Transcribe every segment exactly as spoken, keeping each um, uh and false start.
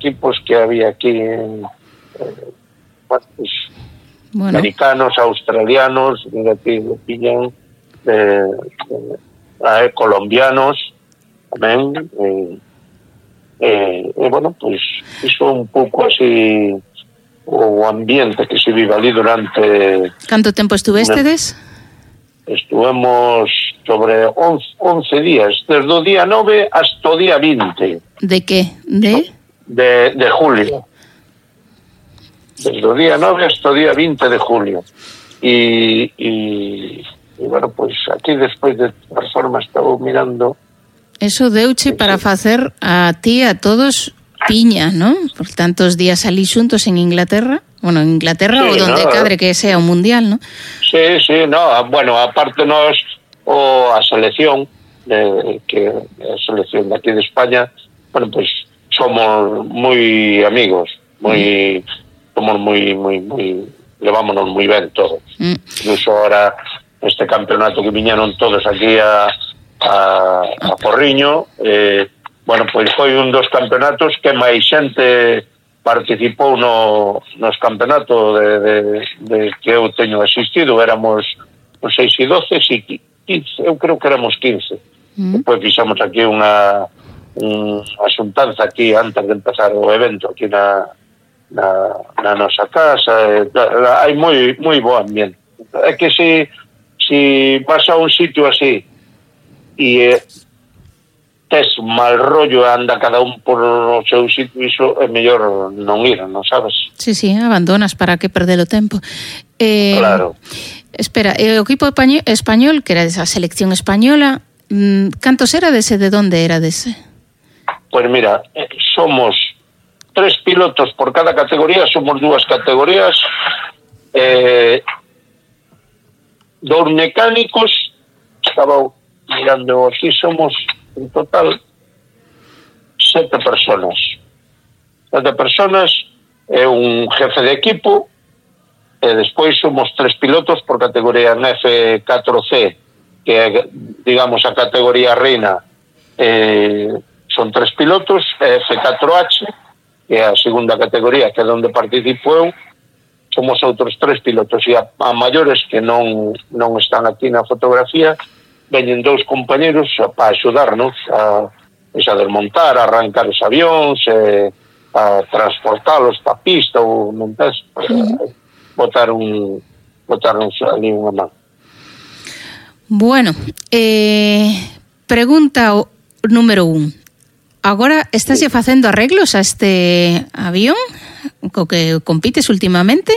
equipos que había aquí en, eh, bueno, pues, bueno. americanos, australianos, mira aquí lo pillan, eh, eh, colombianos tamén, eh, eh, e bueno, pois pues, iso un pouco así o ambiente que se vive ali durante... Canto tempo estuvestedes? Estuvemos sobre once días, desde o día nove hasta o día vinte. De que? De? De, de julio. Desde o día nove hasta o día vinte de julio. E, e, e bueno, pois pues aquí despois de todas formas estaba mirando. Eso deuche para facer a ti a todos piña, ¿no? Por tantos días ali xuntos en Inglaterra. Bueno, en Inglaterra sí, ou donde no, cadre que sea o mundial, ¿no? Sí, sí, no, bueno, aparte nos o a selección de, que a selección de aquí de España, bueno, pues somos moi amigos, moi mm. somos moi moi moi levámonos moi ben todos. Mm. Incluso ahora este campeonato que viñeron todos aquí a a, a Porriño, eh, bueno, pois foi un dos campeonatos que máis xente participou no, nos campeonatos de, de, de que eu teño asistido. Éramos os seis e doce, e quince, eu creo que éramos quince. Mm. Depois fixamos aquí unha unha xuntanza aquí antes de empezar o evento aquí na, na, na nosa casa. Hai moi moi bo ambiente. É que se, se vas a un sitio así e tes mal rollo, anda cada un por o seu sitio, iso é mellor non ir, non sabes? Sí, sí, abandonas, para que perder o tempo. Eh, claro. Espera, o equipo español, que era esa selección española, cantos erades e de onde erades? Pois mira, somos tres pilotos por cada categoría, somos dúas categorías, eh, dous mecánicos, estaba mirando aquí, somos en total sete personas. Sete personas é un jefe de equipo e despois somos tres pilotos por categoría en F catro C, que é, digamos, a categoría reina, eh, son tres pilotos, F catro H, que é a segunda categoría, que é onde participo eu, somos outros tres pilotos, e a, a maiores que non, non están aquí na fotografía, veñen dous compañeros para axudarnos a, a desmontar, a arrancar os avións, eh, a transportalos para a pista ou montar, uh-huh. botar un botarnos ali unha man. Bueno, eh, pregunta número un. Agora estás sí. facendo arreglos a este avión co que compites últimamente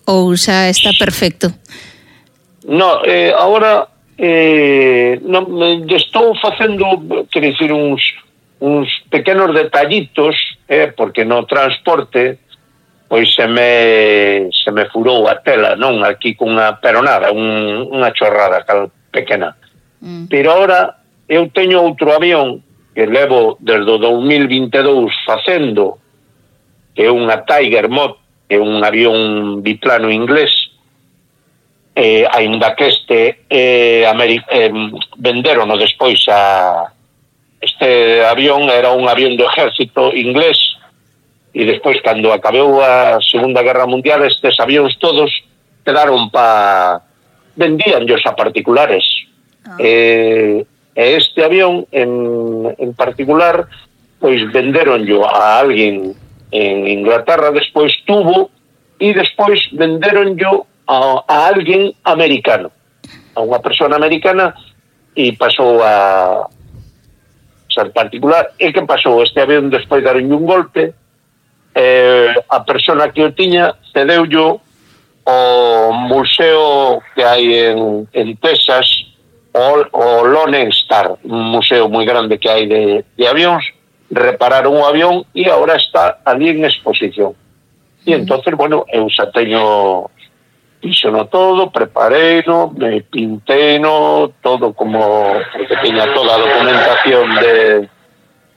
ou xa está perfecto? No, eh, agora Eh, non, estou facendo, quero dicir, uns, uns pequenos detallitos, eh, porque no transporte pois se me se me furou a tela, non aquí cunha peronada, un, unha chorrada cal pequena. Mm. Pero ahora eu teño outro avión que levo desde o dos mil vinte e dous facendo, que é unha Tiger Mod, que é un avión biplano inglés. Eh, ainda que este eh, Ameri- eh, venderono despois a este avión, era un avión do exército inglés, e despois cando acabou a Segunda Guerra Mundial estes avións todos quedaron pa vendíanllos a particulares. Ah. eh, e este avión en, en particular pois venderonllo a alguén en Inglaterra, despois tuvo, e despois venderonllo a, a alguén americano, a unha persona americana, e pasou a ser particular. E que pasou? Este avión despois daron un golpe, eh, a persona que o tiña cedeullo o museo que hai en, en Texas, o, o Lone Star, un museo moi grande que hai de, de avións. Repararon o avión e agora está ali en exposición. E entonces, bueno, eu xa teño fixeno todo, prepareino, me pinteino, todo como, porque tiña toda a documentación de,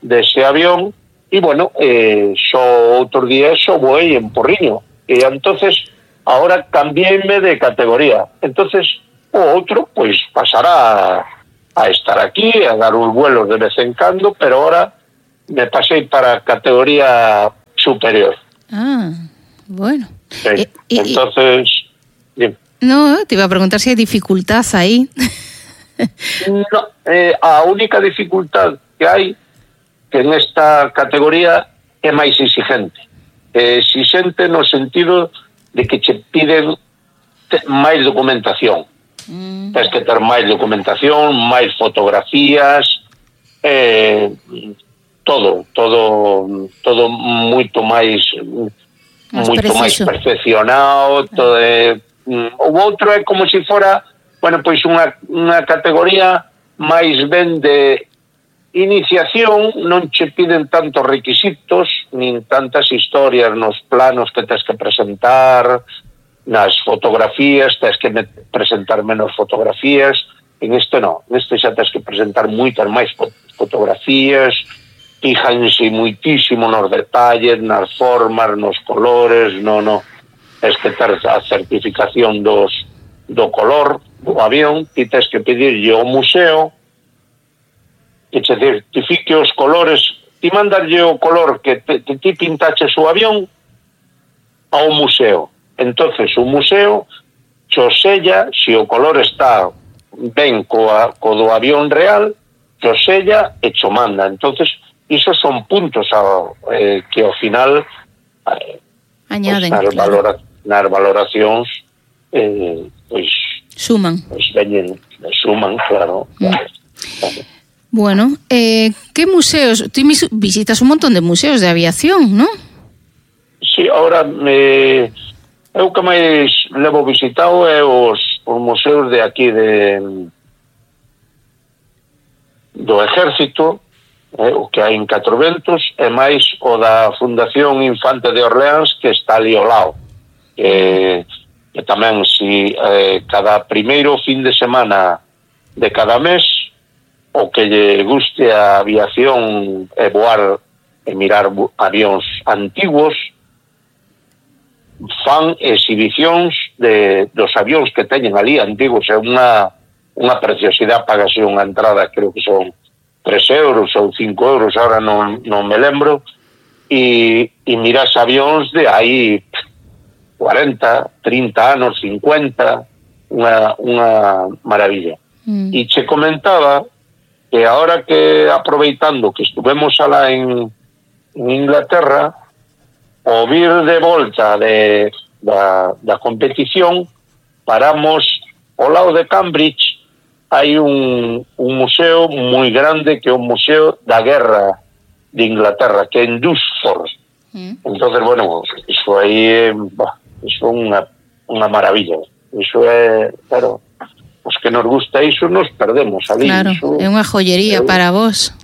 de ese avión, e bueno, eh, xo outro día xo voei en Porriño, e entonces ahora cambiéme de categoría. Entonces o outro, pois, pasará a, a estar aquí, a dar os vuelos de vez en cando, pero ahora me pasei para a categoría superior. Ah, bueno. Sí. Eh, eh, Entonces... Dime. No, te iba a preguntar si hai dificultad aí. No, eh, a única dificultad que hai que en esta categoría é máis exigente. É exigente no sentido de que che piden te, máis documentación. Mm. Tens que ter máis documentación, máis fotografías, eh, todo, todo, todo moito máis, más moito preciso. máis perfeccionado, todo é... O outro é como se fora, bueno, pois unha, unha categoría máis ben de iniciación, non che piden tantos requisitos, nin tantas historias nos planos que tens que presentar, nas fotografías, tens que presentar menos fotografías, en este non, en este xa tens que presentar moitas máis fotografías, fíjanse moitísimo nos detalles, nas formas, nos colores, no, no. Es que ter a certificación dos, do color do avión, ti tens que pedirlle ao museo que che certifique os colores, ti mandarlle o color que te, te, ti pintaches o avión ao museo. Entonces o museo cho sella, se o color está ben coa, co do avión real, cho sella e cho manda. Entonces isos son puntos a, eh, que ao final eh, añaden, pues, nas, claro. valora, nas valoracións eh, pois suman pois veñen, suman, claro, mm. claro, claro. Bueno, eh, que museos? Tú visitas un montón de museos de aviación, ¿no? Sí, ahora me, eu que máis levo visitado é os, os museos de aquí de do Ejército, eh, o que hai en Catro Ventos, e máis o da Fundación Infante de Orleans, que está ali ao lado. Eh, e tamén, si eh, cada primeiro fin de semana de cada mes, o que lle guste a aviación e voar e mirar avións antigos, fan exhibicións de, dos avións que teñen ali antigos. É unha, unha preciosidade, pagase unha entrada, creo que son tres euros ou cinco euros, ahora non, non me lembro, e, e miras avións de aí cuarenta, trinta anos, cincuenta, unha, unha maravilla. Mm. E che comentaba que ahora que, aproveitando que estuvemos alá en, en Inglaterra, o vir de volta de, da, da competición, paramos ao lado de Cambridge, hai un, un museo moi grande que é o Museo da Guerra de Inglaterra, que é en Duxford. Mm. Entonces, bueno, iso aí é, iso é unha, unha maravilla. Iso é, claro, os que nos gusta iso nos perdemos ali. Claro, iso, é unha joyería é, para vos.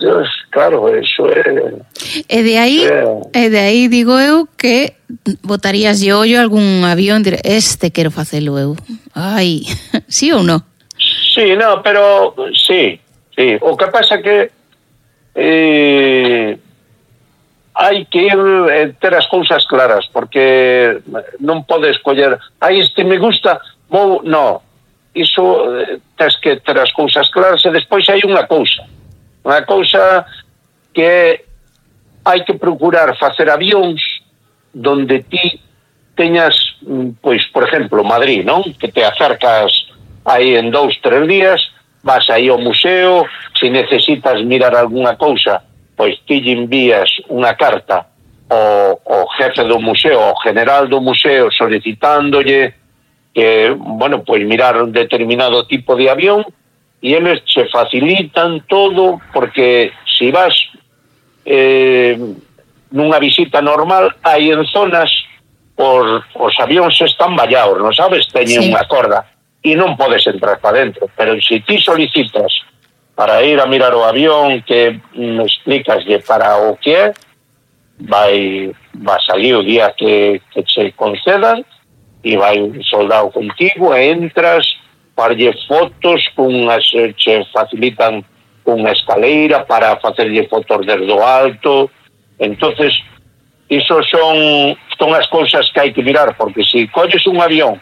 Dios, claro, eso é... E de aí, é... e de aí digo eu que botarías de ollo algún avión, dire, este quero facelo eu. Ai, sí ou non? Sí, no, pero sí, sí. O que pasa que eh, hai que ir eh, ter as cousas claras, porque non podes coller, ai, este me gusta, vou, no, iso eh, tens que ter as cousas claras, e despois hai unha cousa, unha cousa que hai que procurar facer avións donde ti teñas, pois, por exemplo, Madrid, non? Que te acercas aí en dous, tres días, vas aí ao museo, se necesitas mirar algunha cousa, pois ti lle envías unha carta ao, ao jefe do museo, ao general do museo, solicitándolle que, bueno, pois mirar un determinado tipo de avión, e eles che facilitan todo, porque se vas eh, nunha visita normal, hai en zonas os, os avións están vallados, non sabes? Teñen sí. unha corda e non podes entrar para dentro, pero se ti solicitas para ir a mirar o avión, que me explicaslle para o que é, vai, vai salir o día que, que che concedan, e vai un soldado contigo, e entras, farlle fotos, cunhas, che facilitan unha escaleira para facerlle fotos desde o alto. Entonces, iso son, son as cousas que hai que mirar, porque se colles un avión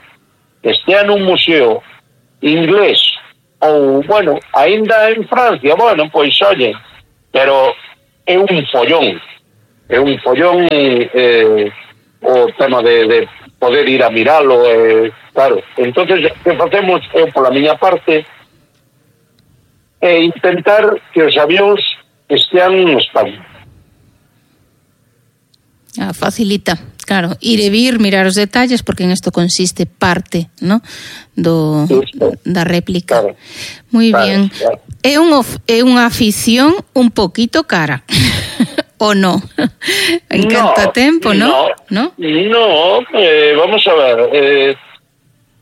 que estea nun museo inglés, ou, bueno, aínda en Francia, bueno, pois, oye, pero é un follón, é un follón eh, o tema de, de poder ir a miralo, eh, claro. Entonces, que facemos, eu pola miña parte, é intentar que os avións estean en España. Ah, facilita, claro, ir e vir, mirar os detalles, porque en isto consiste parte, ¿no? Do, da réplica. Claro. Moi claro, bien. Claro. É, un, é unha afición un poquito cara, o no? En no, canto tempo, ¿no? No, no, no eh, vamos a ver, eh,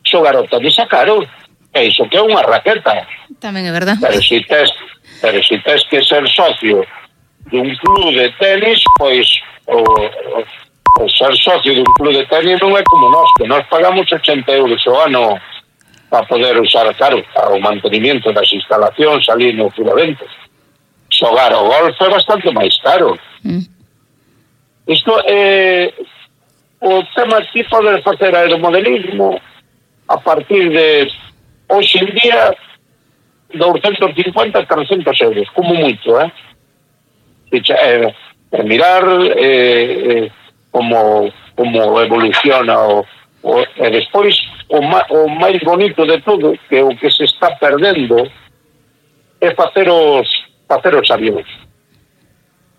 xogar ao tenis é caro, é iso que é unha raqueta. Tamén é verdad. Pero si tes, pero si tes que ser socio dun club de tenis, pois o, o, o ser socio dun club de tenis non é como nós, que nós pagamos ochenta euros ao ano para poder usar, claro, para o mantenimiento das instalacións ali no Filavento. Xogar o golf é bastante máis caro. Mm. Isto é o tema aquí poder facer aeromodelismo a partir de hoxe en día doscientos cincuenta a trescentos euros, como moito, eh? É, é mirar eh, eh, como, como evoluciona o, o, e despois o, ma, o máis bonito de todo, que o que se está perdendo é facer os facer os avións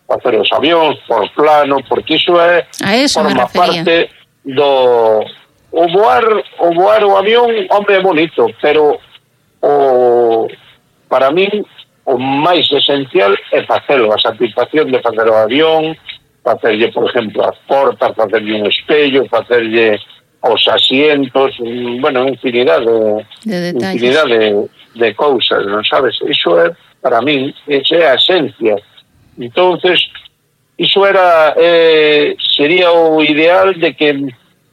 facer os avións por plano, porque iso é eso forma parte do o voar o voar o avión, hombre, é bonito, pero o para min o máis esencial é facelo, a satisfacción de facer o avión, facerlle, por exemplo, as portas, facerlle un espello, facerlle os asientos, bueno, infinidade de, de infinidade de, de cousas, non sabes? Iso é, para min, esa é a esencia. Entonces, iso era eh, sería o ideal de que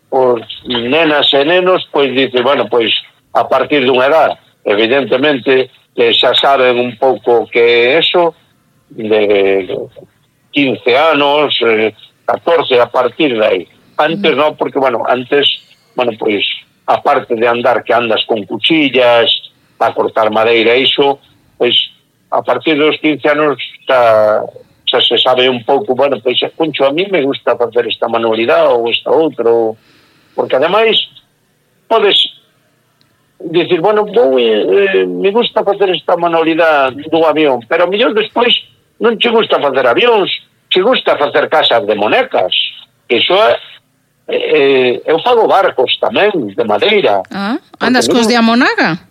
os nenas e nenos, pois, dice, bueno, pois, a partir dunha edad, evidentemente, que xa saben un pouco que é eso, de quince anos, catorce, a partir de aí. Antes non, porque, bueno, antes, bueno, pois, aparte de andar, que andas con cuchillas, para cortar madeira, iso, pois, a partir dos quince anos xa, xa se sabe un pouco, bueno, pois, concho, a mí me gusta facer esta manualidade ou esta outra, porque, ademais, podes dicir, bueno, vou, eh, me gusta facer esta manualidade do avión, pero a mellor despois non che gusta facer avións, che gusta facer casas de monecas, que iso é, eh, eu fago barcos tamén, de madeira. Ah, andas cos de Amonaga?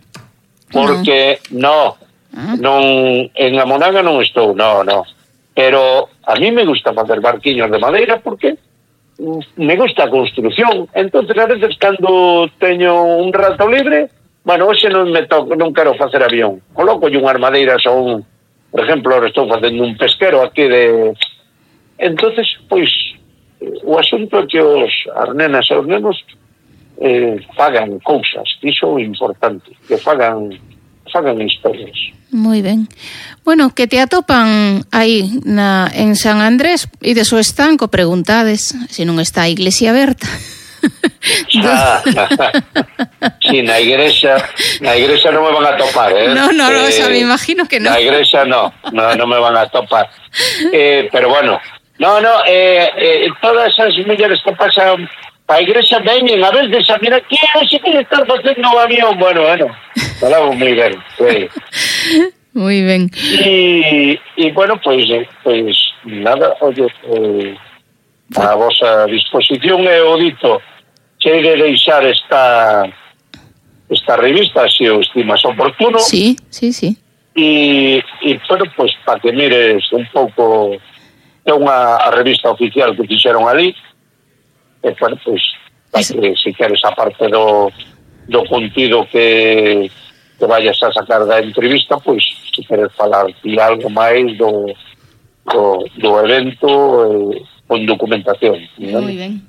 Porque, no, ah. non, en Amonaga non estou, no, no, pero a mí me gusta facer barquiños de madeira porque me gusta a construcción. Entonces, a veces, cando teño un rato libre, bueno, hoxe non me toco, non quero facer avión, coloco unhas madeiras ou un, por exemplo, ahora estou facendo un pesquero aquí de... Entonces, pois, o asunto é que os as nenas e os nenos eh, fagan cousas, iso é importante, que fagan fagan historias. Moi ben. Bueno, que te atopan aí na, en San Andrés e de so estanco, preguntades se non está a iglesia aberta. Ah, sí, na igrexa na igrexa non me van a topar, eh? No, no, no, eh, o sea, me imagino que no. Na igrexa no, no, no me van a topar. Eh, pero bueno, no, no, eh, eh, todas esas mulleres que pasan pa igrexa veñen a veces a mirar que é ese que están facendo o avión. Bueno, bueno, falamos moi ben, sí. Moi ben. E, e bueno, pois, pois nada, oye, eh, a vosa disposición é o dito, chegue deixar esta esta revista, se o estimas oportuno. Sí, sí, sí. E, e bueno, pois, para que mires un pouco, é unha a revista oficial que fixeron ali, e, bueno, pois, para que, se queres, a parte do, do contido que, que vayas a sacar da entrevista, pois, se queres falar de algo máis do, do, do evento, eh, con documentación. Moi ben.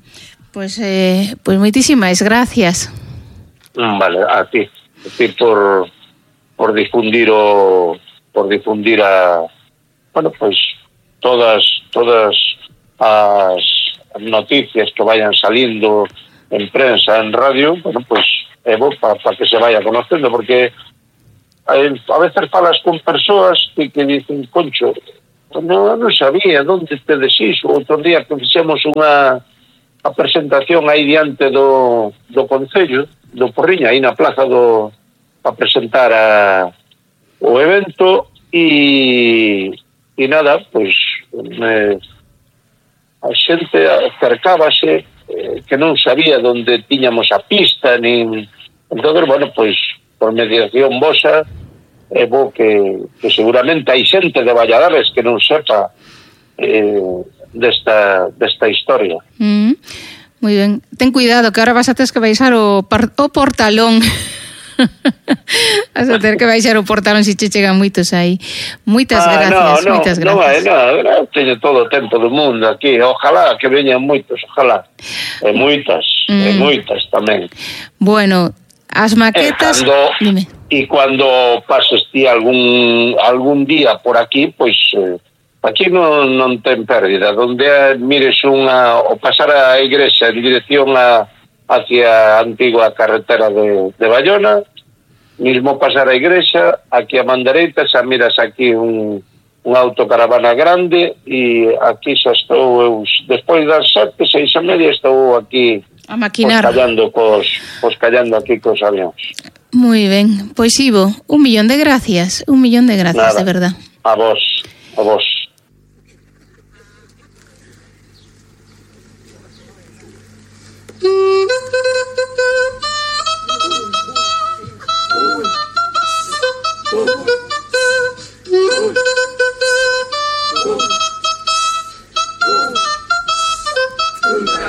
Pois, eh, pois moitísimas gracias. Vale, a ti. A ti por, por difundir o por difundir a, bueno, pois, todas todas as noticias que vayan salindo en prensa, en radio, bueno, pois, é bo para pa que se vaya conocendo, porque a, a veces falas con persoas que, que dicen, concho, non, non sabía onde tedes iso. Outro día que fixemos unha a presentación aí diante do, do Concello, do Porriña, aí na plaza do, a presentar a, o evento, e, e nada, pois me, a xente acercábase, eh, que non sabía onde tiñamos a pista, nin... Entón, bueno, pois, por mediación vosa, é bo que, que seguramente hai xente de Valladares que non sepa eh, desta, desta historia. Mm, moi ben. Ten cuidado, que ahora vas a ter que baixar o, par, o portalón. Vas a ter que baixar o portalón se che chegan moitos aí. Moitas ah, gracias, no, no, moitas gracias. Non, non, non, teño todo o tempo do mundo aquí. Ojalá que veñan moitos, ojalá. E moitas, mm. e moitas tamén. Bueno, as maquetas... E cando, dime. E cando pases ti algún algún día por aquí, pois eh, aquí non, non ten pérdida. Donde mires unha, o pasar a igrexa en dirección a, hacia a antigua carretera de, de Bayona, mismo pasar a igrexa, aquí a man dereita, xa miras aquí un, un autocaravana grande, e aquí xa estou eu, despois das sete, seis e media, estou aquí a maquinar. Pois callando, cos, pois callando aquí cos avións. Moi ben, pois Ivo, un millón de gracias, un millón de gracias, Nada, de verdad. A vos, a vos. Mm-hmm.